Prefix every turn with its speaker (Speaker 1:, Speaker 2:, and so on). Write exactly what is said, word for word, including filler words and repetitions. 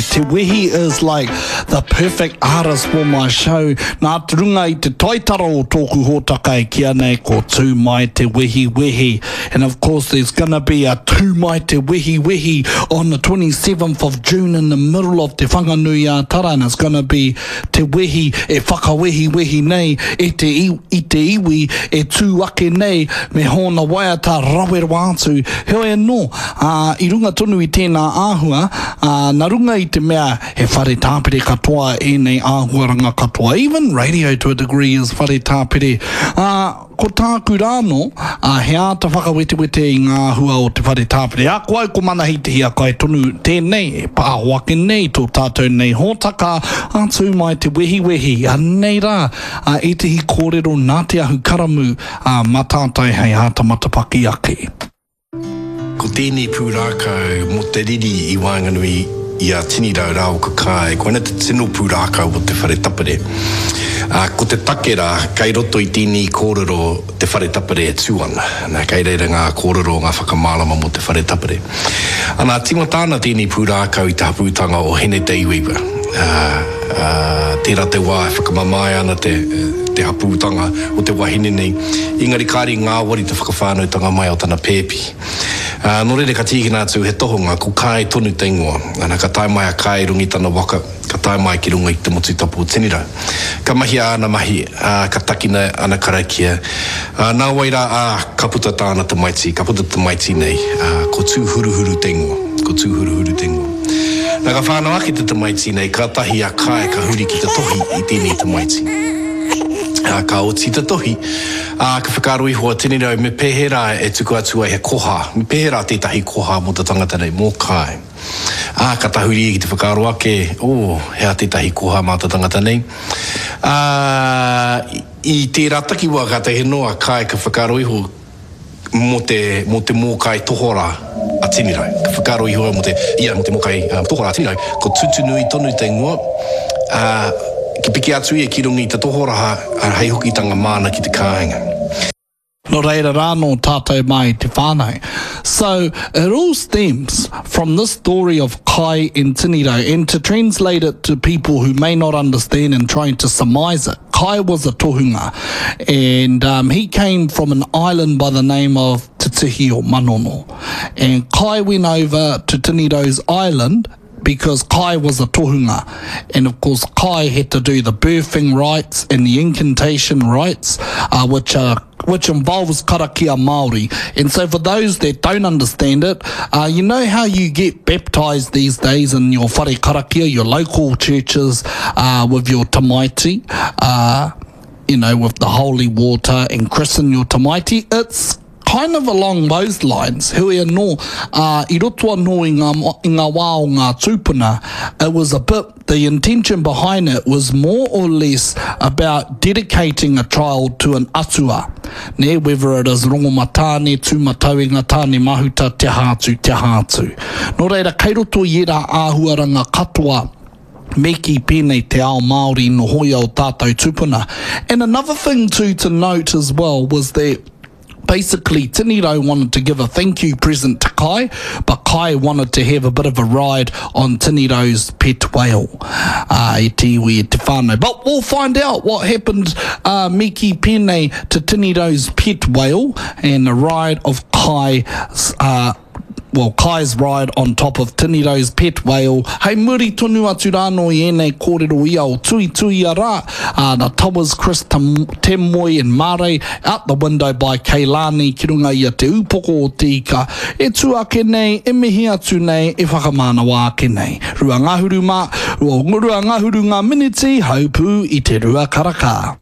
Speaker 1: Te Wehi is like the perfect artist for my show. Nā te runga i te taitara o tōku hōtaka e kīa nei ko Tū Mai Te Wehi Wehi. And of course there's gonna be a Tū Mai Te Wehi Wehi on the twenty-seventh of June in the middle of Te Whanganui-a-Tara, and it's gonna be Te Wehi e whakawehiwehi nei e te, i te iwi e tū ake nei me hōna waiata rawe rawa atu. Heoi anō, ā, i runga tonu i tēnā āhua, ā, nā runga i te mea he whare tāpere katoa ēnei āhuaranga katoa, even radio to a degree is whare tāpere, ā, ko tāku rānō, ā, he āta whakawetewete i ngā āhua o te whare tāpere. Ā, ko au ko Manahi Te Hiakai tonu tēnei e pāho ake nei tō tātou nei hōtaka, ā, tū mai te wehiwehi, anei rā, ā, ētehi kōrero nā Te Ahukaramū, ā, mā tātou hei āta matapaki ake.
Speaker 2: Ko tēnei pūrākau mō te riri i waenganui i a Tinirau rāua ko Kae, koina te tino pūrākau o te whare tapere. Ā, ko te take rā, kei roto i tēnei kōrero te whare tapere e tū ana. Nā, kei reira ngā kōrero, ngā whakamārama mō te whare tapere. Ana, tīmata ana tēnei pūrākau i te hapūtanga o Hine Te Iwaiwa. Ā, ā, tērā te wā e whakamamae ana te, te hapūtanga o te wahine nei, engari kāre i ngāwari te whakawhānautanga mai o tana pēpi. Ā, nō reira ka tīkina atu he tohunga, ko Kae tonu te ingoa. Ana, ka tae mai a Kae i runga i tana waka, ka tae mai ki runga i te motu tapu o Tinirau. Ka mahia āna mahi, ā, ka takina ana karakia. Ā, nāwai rā, ā, ka puta tāna tamaiti, ka puta te tamaiti nei, ā, ko Tūhuruhuru te ingoa, ko Tūhuruhuru te ingoa. Nā, ka whānau ake te tamaiti nei, kātahi a Kae ka huri ki te tohi i tēnei tamaiti. Ā, ka oti te tohi, ā, ka whakaaro iho a Tinirau me pēhea rā e tuku atu ai he koha, me pēhea rā tētahi koha mō te tangata nei, mō Kae. Ā, ka tahuri ia ki te whakaaro ake, oh, he aha tētahi koha mā te tangata nei? Ā, i tērā takiwā kātahi anō a Kae ka whakaaro iho, mō te, mō te mōkai tohorā a Tinirau. Ka whakaaro iho au mō te, ia, mō te mōkai tohorā a Tinirau, ko Tutunui tonu te ingoa, ā, ki piki atu ia ki runga i te tohoraha, ā, hei hokitanga māna ki te kāinga.
Speaker 1: Nō reira rānō tātou mā i te whānau. So, it all stems from this story of Kai and Tinirau, and to translate it to people who may not understand and trying to surmise it, Kai was a tohunga, and um, he came from an island by the name of Te Tihi o Manono. And Kai went over to Tinirau's island because Kai was a tohunga. And of course, Kai had to do the birthing rites and the incantation rites, uh, which are which involves karakia Māori. And so for those that don't understand it, uh, you know how you get baptized these days in your whare karakia, your local churches, uh, with your tamaiti, uh, you know, with the holy water and christen your tamaiti? It's kind of along those lines. Hui anō, uh, i roto anō i ngā, i ngā wā o ngā tūpuna, it was a bit, the intention behind it was more or less about dedicating a child to an atua, nē, whether it is Rongomatāne, Tūmatauenga, Tāne Mahuta, te aha atu, te aha atu. Nō reira, kei roto i ērā āhuaranga katoa, me kī pēnei te ao Māori nohoia o tātou tūpuna. And another thing too to note as well was that basically Tinirau wanted to give a thank you present to Kai, but Kai wanted to have a bit of a ride on Tinirau's pet whale. Uh, e te iwi, e te whānau. But we'll find out what happened, uh, me kī pēnei to Tinirau's pet whale and the ride of Kai, uh, well, Kai's ride on top of Tinirau's pet whale. Hei muri tonu atu rānō i ēnei kōrero ia o Tuituia rā, ā, na Towers, Chris Te Moe and Mare, Out the Window by Keilani ki runga i a Te Ūpoko o Te Ika e tū ake nei, e mihi atu nei, e whakamānawa ake nei. Rua ngahuru mā, rua ngahuru ngā miniti, haupū i te rua karaka.